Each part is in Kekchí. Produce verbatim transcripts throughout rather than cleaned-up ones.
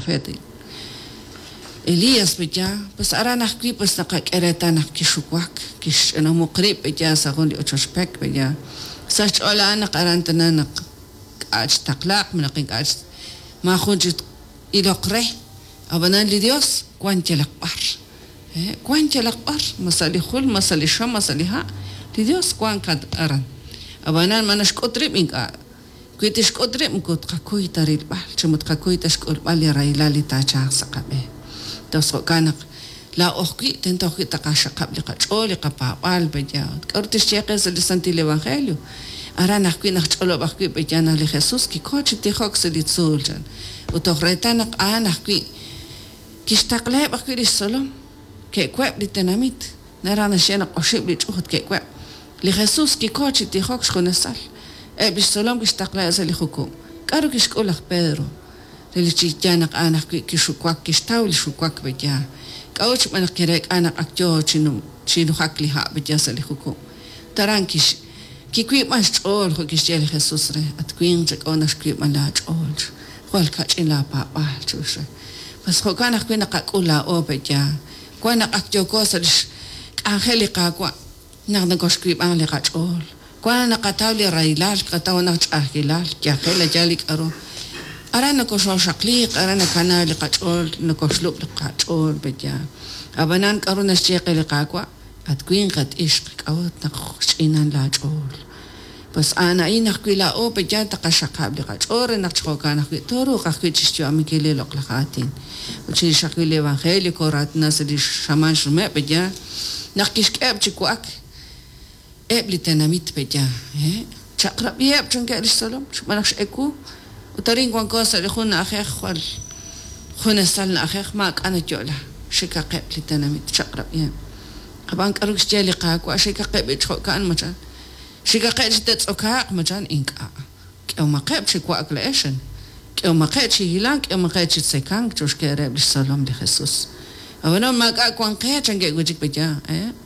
profeta Elías peya pues aran ajwi' pues naqak'e reetal naq kixuwak kixch'inamuq rib' peya sa' jun li ochoch pek peya sa' xch'ool a'an naq aran tana naq k'a' chtaqlaaq naq ink'a' maajun chi iloq re ab'anan li Dios wan yalaq b'ar wan yalaq b'ar ma sa' li jul ma sa' li xam ma sa' li ha' li Dios wan aran ab'anan ma naxk'ut rib' ink'a' wi tixk'ut rib' moko tqakuy ta rilb'al chi moko tqakuy ta xk'ulb'al li rahilal li taachalq sa' qab'een entonces jo'kan naq laa'o ajwi' tento ajwi' taqaxaqab' li qach'ool li qapaab'aal peya k'a'ru tixye qe sa' li Santil Evangelio aran ajwi' naq ch'olob' ajwi' peya naq li Jesús kiko chi tijok sa' li tzuul chan ut toj reetal naq a'an ajwi' kixtaqlaheb' ajwi' lix tzolom ke'web' li tenamit naraj naxye naq oxib' li ch'uut ke'web' li Jesús kiko chi tijok xjunesal eb' lix tzolom kixtaqlaheb' sa' li jukub' k'a'ru kixk'ul laj Pedro relik chi yaal naq a'an ajwi' kixuwak kixtaw li xuwak peya k'a'ut xb'aan naq kireek'a naq ak yoo chi nujak li ha' peya sa' li jukub' taran kix kiwiib'an xch'ool jo' kixye li Jesús re at winq chak'o naq xwiib'an laach'ool jwal kach'in laapaab'aal chux re pues jo'kan ajwi' naqak'ul laa'o peya wan naq ak yooko sa' lix k'anjel li Qaawa' naq nakoxwiib'an li qach'ool wan naqataw li rahilal qataw naq ch'a'ajkilal yajel ayal li k'a'ru aran nakoxoxaqliq aran nakana li qach'ool nakoxlub' li qach'ool peya ab'anan k'a'ru naxye qe li Qaawa' at winq at ixq k'a'ut naq xch'inan laach'ool pues a'an a'in ajwi' laa'o peya taqaxaqab' li qach'ool re naq chi jo'kan ajwi' tooruuq ajwi' chixyu'aminkil li loq'laj aatin ut chirix ajwi' li evangelio kooraatina sa' li xamaan xnume' peya naq kixk'eheb' chi wa'ak eb' li tenamit peya chaq'rab'iheb' chankeb' lix tzolom xb'aan naq x'ewu ut arin wanko sa' li jun na'ajej jwal junesal na'ajej maak'a' nayo'la xikaqeb' li tenamit chaq'rab'iheb' ab'an k'a'ru kixye li Qaawa' xikaqeb' b'i jo'kan machan xikaqeb' chi te'tz'okaaq machan ink'a' k'ehomaqeb' chi wa'ak la'ex k'ehomaqeb' chi hilank k'ehomaqeb' chi tzekank chuxke reheb' lix tzolom li Jesús ab'anan maak'a' wan qe chankeb' wi' chik peya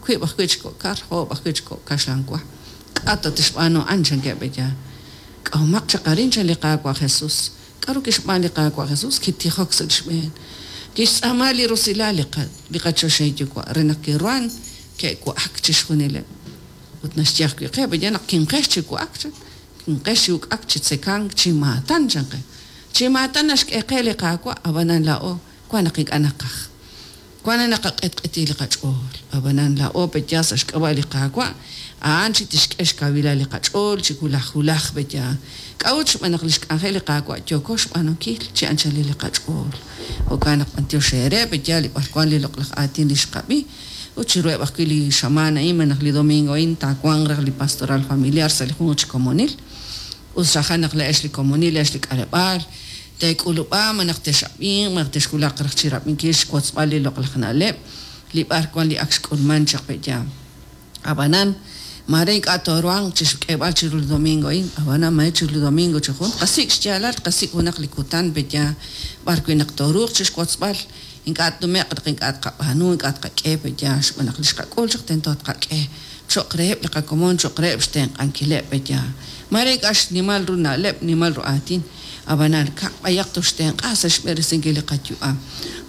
wiib' ajwi' chi kok' kar oob' ajwi' chi kok' kaxlan wa k'a' ta tixb'aanu a'an chankeb' peya k'ahomaq chaq arin chan li Qaawa' Jesús k'a'ru kixb'aan li Qaawa' Jesús kitijok sa' xb'een kixtz'aama li rusilal li li qachoxahil yuwa' re naq kiruhan ke'wa'ak chixjunileb' ut naxye ajwi' qe peya naq kinqex chi wa'ak chan kinqex chi uk'ak chi tzekank chi maatan chan qe chi maatan naxk'e qe li Qaawa' ab'anan laa'o wan naq ink'a' naqaj wan naq naqaq'etq'eti li qach'ool ab'anan laa'o peya sa' xk'ab'a' li Qaawa' a'an chi tixk'e xkawilal li qach'ool chi wulaj wulaj peya k'a'ut xb'aan naq li xk'anjel li Qaawa' yooko xb'aanunkil chi anchalil li qach'ool jo'kan naq b'antiox eere peya li b'arwan li loq'laj aatin li xqab'i ut chiruheb' ajwi' li xamaan a'in malaj li domingo a'in taawanq raj li pastoral familiar sa' li jun chi komonil ut xajan naq la'ex li komonil la'ex li k'aleb'aal teek'ulub'a malaj texab'inq malaj texwulaq raj chirab'inkil xwotzb'al li loq'laj na'leb' li b'arwan li ak xk'ulman chaq peya ab'anan mare ink'a' tooruhanq chixk'eeb'al chiru li domingo a'in ab'anan mare chiru li domingo chi jun qasik' xyaalal qasik' junaq li kutan peya b'arwi' naq tooruuq chixwotzb'al ink'a' tnume'q naq ink'a' tqab'aanu ink'a' tqak'e peya xb'aan naq li xqak'ul chaq tento tqak'e cho'q reheb' li qakomon cho'q reheb' xtenq'ankileb' peya mare ink'a' xnimal ru na'leb' nimal ru aatin ab'anan kaq b'ayaq toxtenq'a sa' xb'eresinkil li qayu'am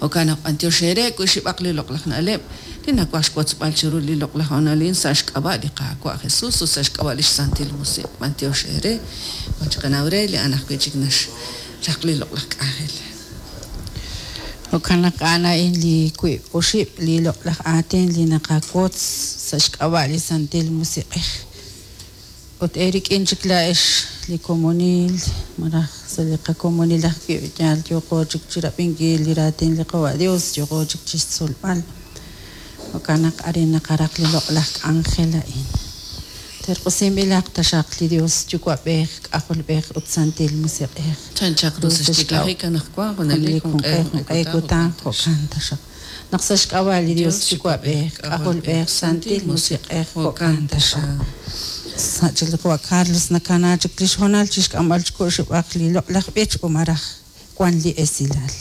jo'kan naq b'antiox eere wi xib'aq li loq'laj na'leb' li nawaj xwotzb'al chiru li loq'laj honalin sa' xk'ab'a' li Qaawa' Jesús ut sa' xk'ab'a' lix Santil Musiq' b'antiox eere wan chiqanaw re li a'an ajwi' chik naxraq li loq'laj k'anjel Jo'kan naq a'an a'in li wiib' oxib' li loq'laj aatin li naqawotz sa' xk'ab'a' li Santil Musiq'ej ut eerik'in chik la'ex li komonil malaj sa' li qakomonil ajwi' yaal yooqo chik chirab'inkil li raatin li Qawa' Dios yooqo chik chixtzolb'al jo'kan naq arin naqaraq li loq'laj k'anjel a'in terq'usinb'ilaq taxaq li Dios Yuwa'b'ej K'ajolb'ej ut Santil Musiq'ej chanchaq ru sa' xtiklajik anaqwan junelik junelik junq'e junq'e kutan jo'kan taxaq naq sa' xk'ab'a' li Dios Yuwa'b'ej K'ajolb'ej Santil Musiq'ej jo'kan taxaq sa' chik li Qawa' Carlos nakana chik li xhoonal chixk'amb'al chiku'xib'aq li loq'laj b'ich o maraj wan li esilal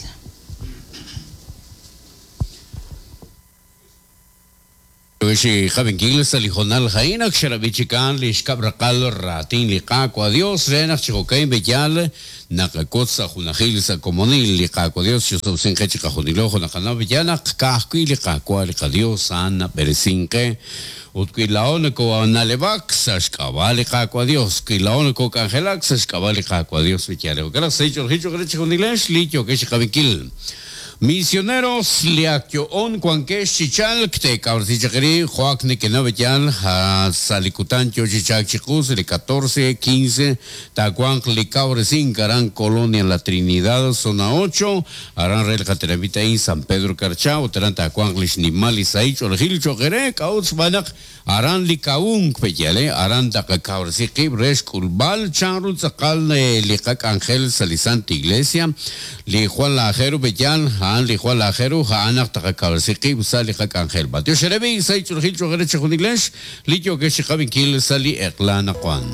Yokex qab'inkil sa' li hoonal a'in ak xerab'i chikan li xkab' raqal raatin li Qaawa' Dios re naq chi jo'ka'in b'eyal naqawotz sa' junajil sa' komonil li Qaawa' Dios chisob'sin qe chiqajunilo jo' naqanaw b'eyal naq ka'ajwi' li Qaawa' li qaDios a'an nab'eresink qe ut wi laa'o nakoona'leb'ak sa' xk'ab'a' li Qaawa' Dios wi laa'o nakok'anjelak sa' xk'ab'a' li Qaawa' Dios b'eyal jo'kan naq sa' ch'oolejil cho'q re chijunilex li yokex qab'inkil. Misioneros li ak yo'on wankex chi chalk teekawresi chaq eri jo'ak nekenaw b'eyal sa' li kutan yo chi chalk chiqu sa' li catorce quince taawanq li kawresink aran Colonia La Trinidad zona ocho aran re li qatenamit a'in San Pedro Carchá ut aran taawanq li xnimal li sahil ch'oolejil cho'q ere k'a'ut xb'aan naq aran li kawunk b'eyal aran taqakawresi qib' re xk'ulb'al chanru tz'aqal li qak'anjel sa' li Santa Iglesia li Juan Lajeru b'eyal a'an li Juan Lajeru a'an naq taqakawresi qib' sa' li qak'anjel. Matiox xerebi sa' ch'oolejil cho'q ere chijunilex li yokex chiqab'inkil sa' li eq'la naqwan.